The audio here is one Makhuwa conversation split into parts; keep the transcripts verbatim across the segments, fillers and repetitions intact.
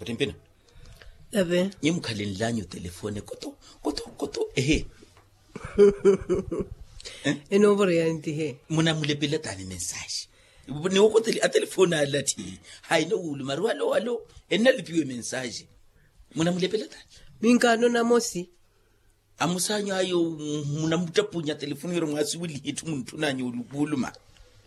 Timpina. Ave. Nyi mukhalenlanyu telefone koto koto koto ehe. Enovoreya ntihe. Munamulepela tani mensaji? Niwokoteli atelefone alathi. Hayi nowuluma ri walo walo. Ennalipiwe mensaji. Munamulepela tani? Minkaano namosi. Amusanyu ayo. Munamuttapunya telefoni yoro mwasiweliha etthu muntthunanyu olukuluma.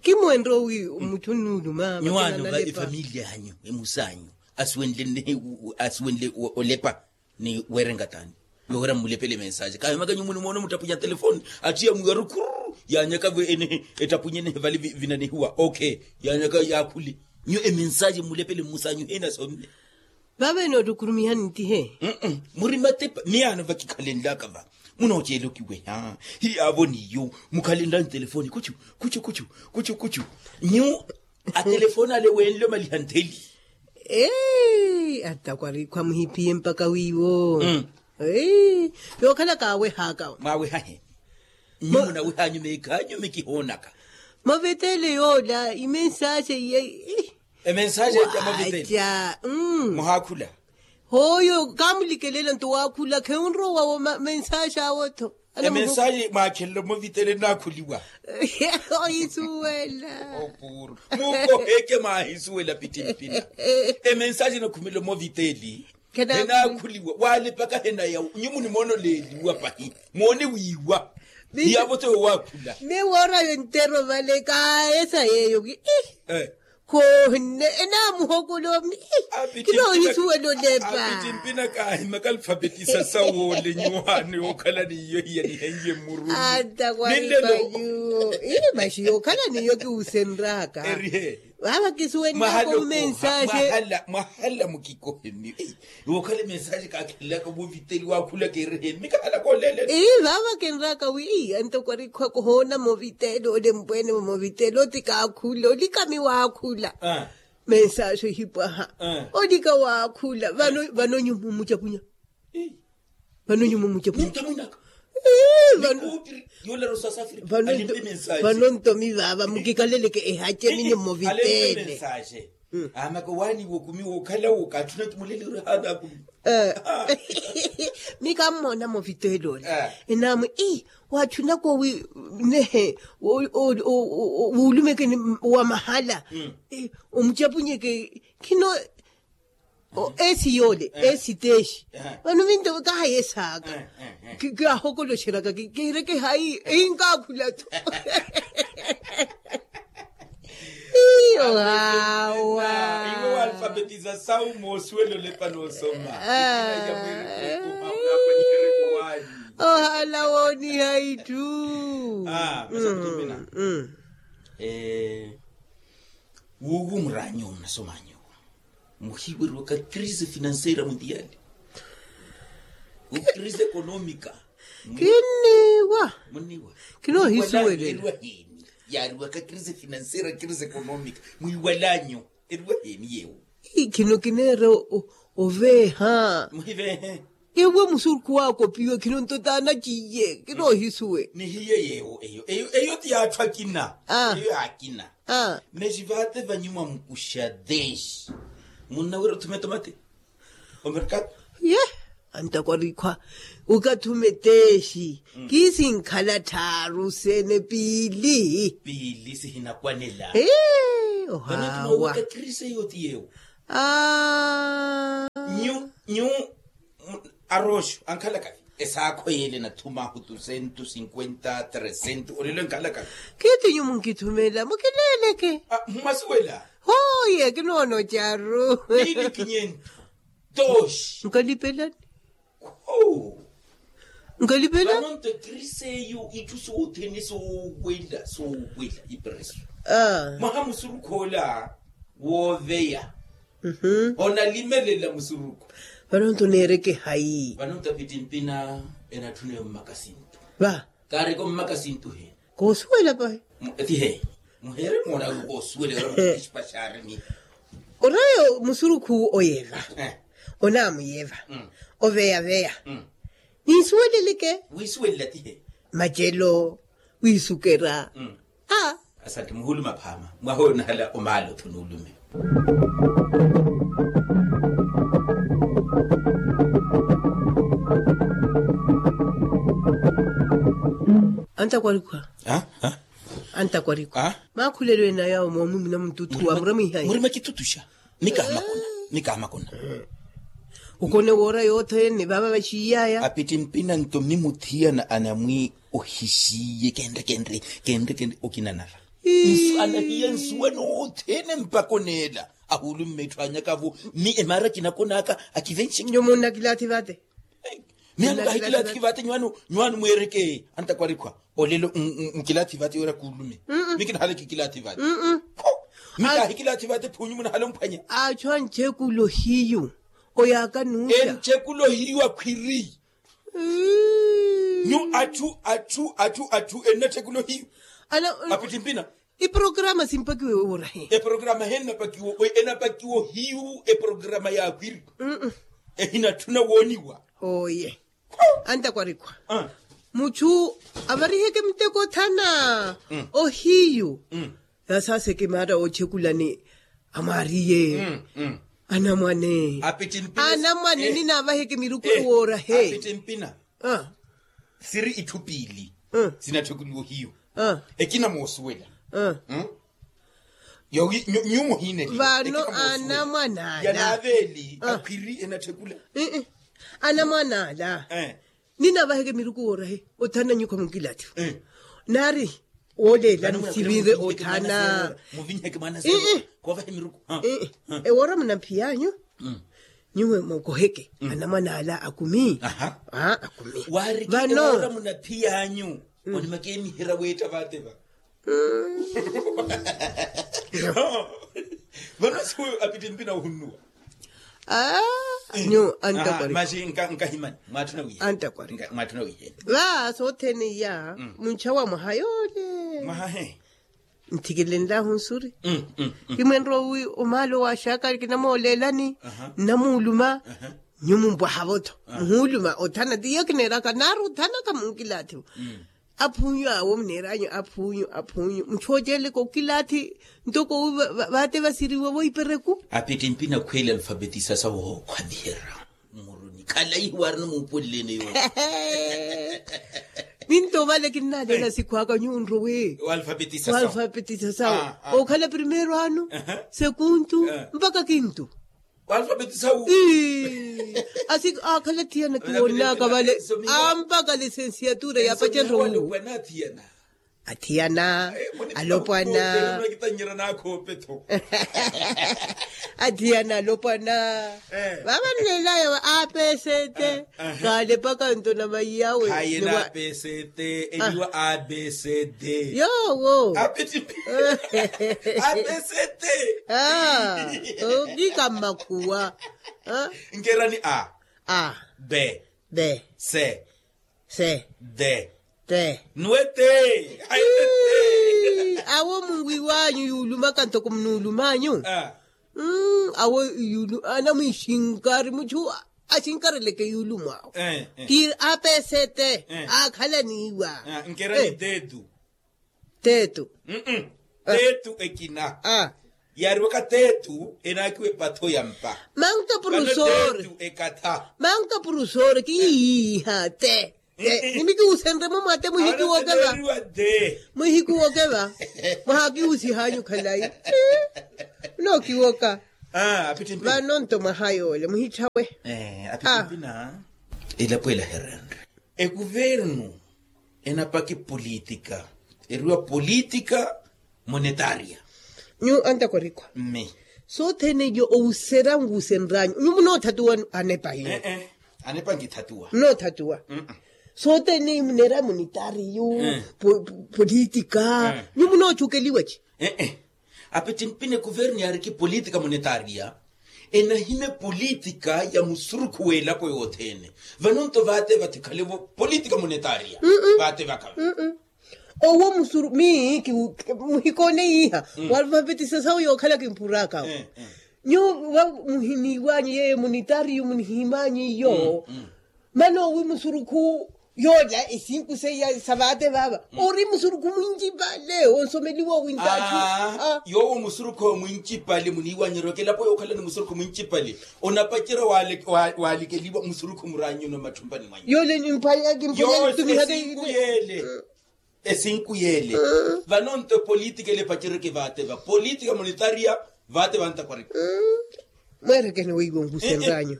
Kimwenre owi mutthu nnuuluma nyuwaano va efamiliya anyu emusanyu asiwenle olepa ni werenka tani? Yohera mmulepele mensaje kahimakanyu muni moona muttapunya telefoni attiya mwiwaru khurru yanyaka vo enehe ettapunya enehe vale vinanehiwa ok. Yanyaka yaakhule nyu emensaje mmulepele mmusanyu hinasomme. Vavene ottukurumihani ntihe. Muri matepa miyaano vakikhalenlaka va munooceela okiweha. Hiyaavo niyo mukhalenlani telefoni kuchu kuchu kuchu kuchu kuchu nyu atelefoni ale weenle omaliha ntheli. Eei attakwari khwamuhiphiye mpakha wiiwo. Eei yookhalaka awehaaka. Mwaweha he? Nyu munawehanyu meekhanyu mikihoonaka. Movitele yoola imensaje iye. Emensaje etta movitele. Muhaakhula. Hooyo kaamulikelele nto waakhula khewunrowa wo mensaje awo tho. Emensaje mwaakhelelo movitele nnaakhuliwa. Ohisuwela. Mukoheke mwaahisuwela pittimpina. Emensaje nakhumela movitele. Henaakhuliwa waalipaka henayawu nyu munimoona oleeliwa pahi moone wiiwa. Hiyaavo tho yowaakhula. Miwoora yontero vale kaayesa yeeyo wi. Khoohinne enaamuhokolomi. Kinoohisuwela olepa. Apittimpina kaahimaka alfabetisa sawoole nyuwaano yookhala n'iyo hiyanihenye mmuruni. Antakwaripa nyuwo. Ii maxi yookhala n'iyo kiwusenraka. Vaava kisuwennaka omensaje. Mwahala mukikohe mmiyo. Iwe okhala emensaje kaakhelelaka moviteli waakhulaka eriheni mikahalaka oleleni. Ii vaava kinraka wi antakwarikhwa kohoona moviteli olempwene moviteli oti kaakhula olikami waakhula. Mensaje ohipwaha. Olika waakhula vano nyumu mucapunya. Vano nyumu mucapunya. Vano ntomi vaava mukikaleleke ehace minyu moviteli. Amaka waaniwa okumi wookhala wookatthuna kimuleleriha anaakumi. Mikammoona moviteli ole. Enaamwe ii waatthunaka owi nehe wuulumeke wa mahala. Omucapunyeke khino. Esi yoole esi teexi. Vano vinto kahayesaaka. Kihahokoloxeraka kiireke hayi ehinkaakhula tho. Iyo hawa. Iwe waalfabetiza sawu moosuwela olepa noosoma. Ohala wooniha itthu. Wuuwu muraanyu munasomanyu muhiweriwaka crise financiera mundiali. Crise economica. Kinniwa. Muniwa. Kinoohisuwelela. Yaariwaka crise financiera crise economica mwiiwalanyu. Eriwa heni yewo? Khino kineera oveeha. Muhiveehe. Ewo musurukhu waakopiwe khino nto taanaciye kinoohisuwe. Nihiye yewo eyo eyo ti yaatthu akina. Eyo yaakina. Nexi vaate vanyuma mukuxa deshi. Munnawira othume tomate. Omerkado. Ye antakwarikwa. Ukathume teshi. Kiisinkhala tthaaru sene piili. Piili sihinakwanela. Ee ohawa. Vanotuma wika kirise yooti yewo. Nyu nyu. Arooxo ankhalakavi esaakho yeele nathuma ahu tu sentu sinkwenta tresento olelo enkhalakavi. Kiitinyu munkithumela mukileeleke. Mmasuwela. Hooye kinoono caru. Piili kinyentu. Toxi nkalipelani. Nkalipela. Vanonto ekiriseiyo itthu soothene soowela soowela ipreso. Mwaha musurukhoola wooveya. Onalimelela musurukhu. Vanonto neereke hayi? Vanonto apittimpina enatthuna yo mmakasintu. Va kaareke ommakasintu he? Koosuwela pahi. Ti he muheere moona wi koosuwela ora mukixipa xaarini. Orayo musurukhu oyeva. Onaamuyeva. Oveyaveya. Niisuweleleke. Wiisuwelela ti he? Macelo wiisukera. Asante muhuluma phaama mwaha oyo nahala omaala othuna ulume. Antakwarikwa. Antakwarikwa. Makhulelo ena yawo moomumina mututhu wa muremwihayi. Murima kitutuxa. Nikaamakuna. Nikaamakuna. Ukone woora yothene vaava vaxiiyaya. Apittimpina nto mmi muthiyana anamwi ohisiye kenre kenre kenre kenre okinanara. Anahiya nsuwa nothene mpaka oneela ahuulumme etthu anyakavo. Mmi emaara kinakonaka akivenxeke. Nyo munnakilaathi vate. Miya nkahikilathi kivate nywanu mweereke antakwarikwa. Olelo nkilathi vate yoora kuulume. Mikinahala kikilathi vate. Mikahikilathi vate phunyu munahala omphwanya. Achu anchekulo hiyu. Oyaka nuuta enchekulo hiyu akhwiri. Nyu achu achu achu achu ennathekulo hiyu. Apittimpina. Iprograma simpakiwe woora he? Eprograma he enapakiwa ohiyu eprograma yaakhwiri. Ehinatthuna wooniwa. Oye. Antakwarikwa. Muchu avariheke muteko othana ohiyu. Yasaaseke maara oochekulani amwaariye. Anamwane. Anamwane ninaavaheke miruku ewoora he? Apittimpina. Siri itthu piili sinatthekuluwa ohiyu. Ekina moosuwela nyuwo muhiineliwa. Vano anamwan'ala yanaaveeli akhwiri enatthekula. Anamwan'ala ninavaheke miruku woora he othana nyukha munkilathi. Naari wooleela nisivirre othana. Muvinheke mwana seero. Koovahe miruku. Ewoora munamphiy'anyu nyuwe mukoheke anamwan'ala akumi. Akumi. Vano ewoora munaphiyanyu onimaka emiherya weetta vaateva. Vano siwe apittimpina ohunnuwa. Nyu antakwarikwa. Maxi nkahimani mwaatthuna wiheni. Antakwarikwa. Mwaatthuna wiheni. Va sothene iya munchawa mwaha yoole. Mwaha he. Nthikilenlahu nsuri. Kimwenrwa wi omaalo waaxaka kinamooleelani nnamuuluma. Nyu mumpwaha-vo-tho muhuuluma othana tiyo kineeraka naaru othanaka munkilaathiwo. Aphunyu awo muneeranyu aphunyu aphunyu muchooceleke okilaathi ntoko vaate vasiriwa voipereku. Apittimpina khweeli alfabetisa sawo khwaviherya. Muruni khalaihi waarina muupulleene yoowo. Minto ovale kinnaleela sikhu aka nyuwo nrowe. Walfapetisa sawo okhala primeiro ano sekuntu mpaka kintu. Walfapetisa wu. Asi akhala thiyana kiwonnaka vale ampaka lisensiatura yapacerya wu. Athiyana alopwana. Athiyana alopwana. Vava nlelaya va apesete. Kalepaka nto na vayi yawe. Hayena apesete eliwa abesete. Yowo. Apesete. Okika mmakhuwa. Nkerani a a be be se se de te nuwe te. Awo munwi wanyu yuulumaka ntoko munuulumanyu. Awo yuulu anamwixinkari muchu axinkareleke yuulumu awo. Kiri apesete akhala niiwa. Nkerani tetu. Tetu. Tetu ekina. Yaariwaka tetu enaakiwa epatho ya mpa. Manto purusore. Ekatha. Manto purusore kiiha te. Nimikiwusenrye mumwate muhikiwoke va. Muhikiwoke va. Mwahakiwusihanyu khalayi. Nookiwoka. Vano nto mwaha yoole muhitthawe. Apitimpina. Elapo ela herenre ekuvernu enapaki politika. Eriwa politika monetaria. Nyu antakwarikwa. Mme sothene iyo owuserangu wusenranyu nyu munoothatuwa anepa iyo. Anepa nkithatuwa. Munoothatuwa. Sothene iyo muneera monetaria iyo politika nyu munoochukeliwa ci. Apitimpina ekuvernu yaariki politika monetaria. Enahimya politika ya musurukhu w'elapo yothene. Vano nto vaate vathi khalevo politika monetaria. Vaate vakhala owo musuru mii muhikoone iha. Walfapetisa sawo yookhala kimpurakawo. Nyu va muhiniiwanyu yeyo monetaria munihimanyu iyo. Mana owi musurukhu yoola esinku seiya sa vaate vaava ori musurukhu mwincipale onsomeliwa owintaathu. Yoowo musurukhu mwincipale muniiwanyeryaka elapo yookhalani musurukhu mwincipale. Onapacerya waalikeliwa musurukhu muraanyuno mmatthumpani mwanyu yoola. Mpwayaki mpwayaki ntumihaka esinku yeele. Esinku yeele. Vano nto epolitika ele epacereke vaate va politika monetaria. Vaate vantakwarika. Mweerekene weiwo nkusenranyu.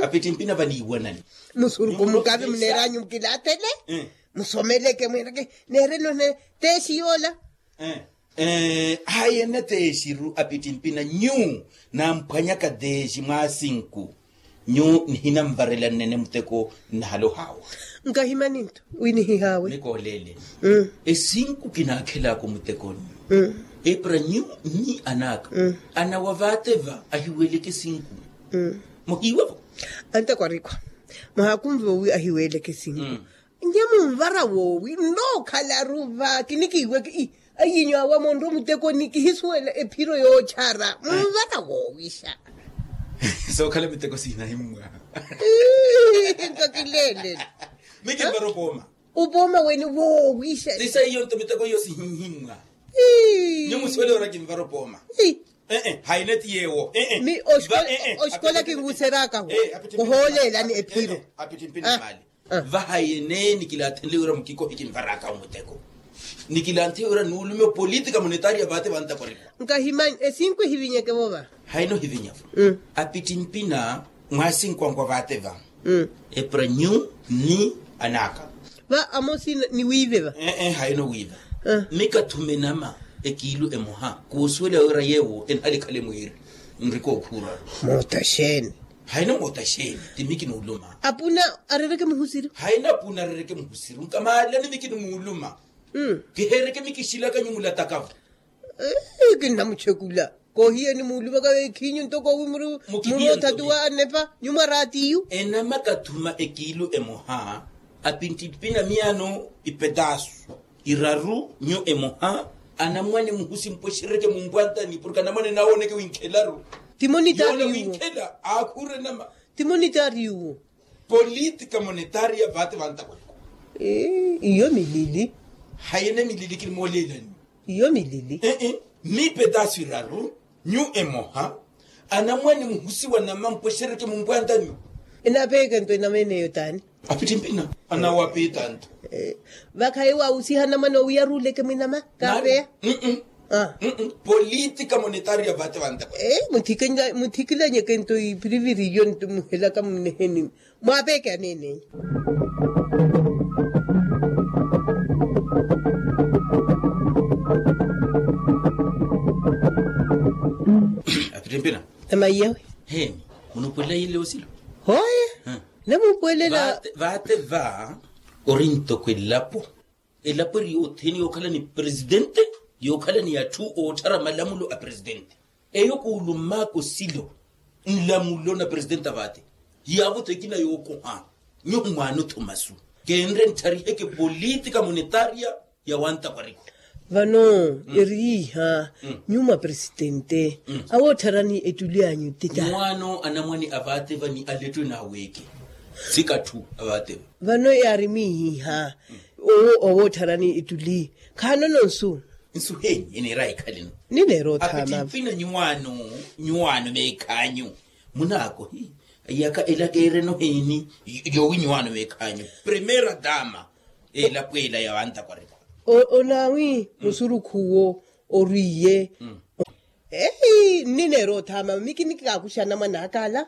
Apittimpina vaniiwanani. Musuruku mukave muneeranyu mukilaathele. Musomeleke mweereke neereno ne teeshi yoola. Hayi ene teeshi ru apittimpina nyu namphwanyaka teeshi mwaasinku. Nyu nihinamvarela nnene muteko. Nnahalohawa. Nkahimani nto winihihawe nikoolele. Esinku kinaakhelaka omutekoni. Epra nyu ni anaaka anawa vaate va ahiweleke esinku. Muhiiwa vo. Antakwarikwa muhakumve owi ahiweleke esinku. Nye munvara woowi nnookhala ruva kinikiiweke. Ayinyu awa monro mutekoni kihisuwela ephiro yoochara munvaka woowisha. Sookhala miteko sinahimmwa. Nto kileelele. Mi kinvara opooma. Upooma weni woowisha. Sisa iyo nto miteko iyo sihihimmwa. Ni musiwele ora kinvara opooma. Ee hayina ti yeewo. Mi oxikola kinwuserakaho. Ohooleelani ephiro. Apittimpina mali. Vaha yene nikilaathenle wira mukiko hikinvaraka omuteko. Nikilaathenle wira nuulume opolitika monetaria vaate vantakorikwa. Nkahimanyi esinku ehivinyeke vova. Haino hivinyavo. Apittimpina mwasinkwangwa vaate va epranyu ni anaka. Va amosi niwiive va. Ee haino wiiva. Mikathuma enama ekiilu emoha kuusuwela wira yeewo enhalikhale mwiiri. Nrikookhuraru. Moota xeeni. Haina moota xeeni ti mi kinuuluma. Apuna arereke muhusiru. Haina apuna arereke muhusiru nkamaalani mi kinimuuluma. Kiheereke mi kixilaka nyumulataka vo. Kinnamuchekula koohiya nimuulumaka veekhinyu ntoko wi muri. Muri othatu wa anepa nyumwa raatiyu. Enama kathuma ekiilu emoha apintimpina miyaano ipetaasu iraru nyu emoha. Anamwane muhusi mpwexereke mumpwantani porke anamwane nawooneke winkhelaru. Timo nitaari yuwo winkhela aakhuure nama. Timo nitaari yuwo. Politika monetaria vaate vantakweko. Iyo milili. Hayene milili kinimooleelani. Iyo milili. Mipetaasu iraru nyu emoha. Anamwane muhusi wa nama mpwexereke mumpwantani. Enapeeke nto enama eneyo taani. Apittimpina anawapiita nto. Vakhayi waawusiha namana owiya ruuleke mwinama kaapeya. Politika monetaria vaate vantakweko. Muthikilanyeke nto ipiriviri iyo nto muhelaka muneheni. Mwaapeeke aneeneyi. Apittimpina. Emaiyawe. Heni munupulela ile osilo. Hoye. Namupuwelela. Vaate va ori ntoko elapo. Elapo eri yothene yookhala ni presidente. Yookhala ni atthu ootthara malamulo a presidente. Eyo kuulummaka osilo nlamulo na presidente a vaate. Yaavo-tho ekina yookoha. Nyuhu mwaana othomasu. Keenre nthariheke politika monetaria ya wantakwariku. Vano eri yiiha nyuma presidente awootharani ettuli anyu ttita. Nwaano anamwane a vaate vani alettwe naaweke. Sikatthu a vaate va. Vano yaari miihiha owo owootharani ettuli. Khaanono nsu. Nsu heni eneera ekhaleno. Nineera othaama. Apittimpina nyuwaano. Nyuwaano meekhaanyu munaakohi. Iyaka ela keereno heni? Yoowi nyuwaano meekhaanyu primera dama. Elapo ela ya wantakwariku. Onaawi musurukhu uwo oriye. Ehi nnineera othaama mi kinikaakuxa anamwane aka ala.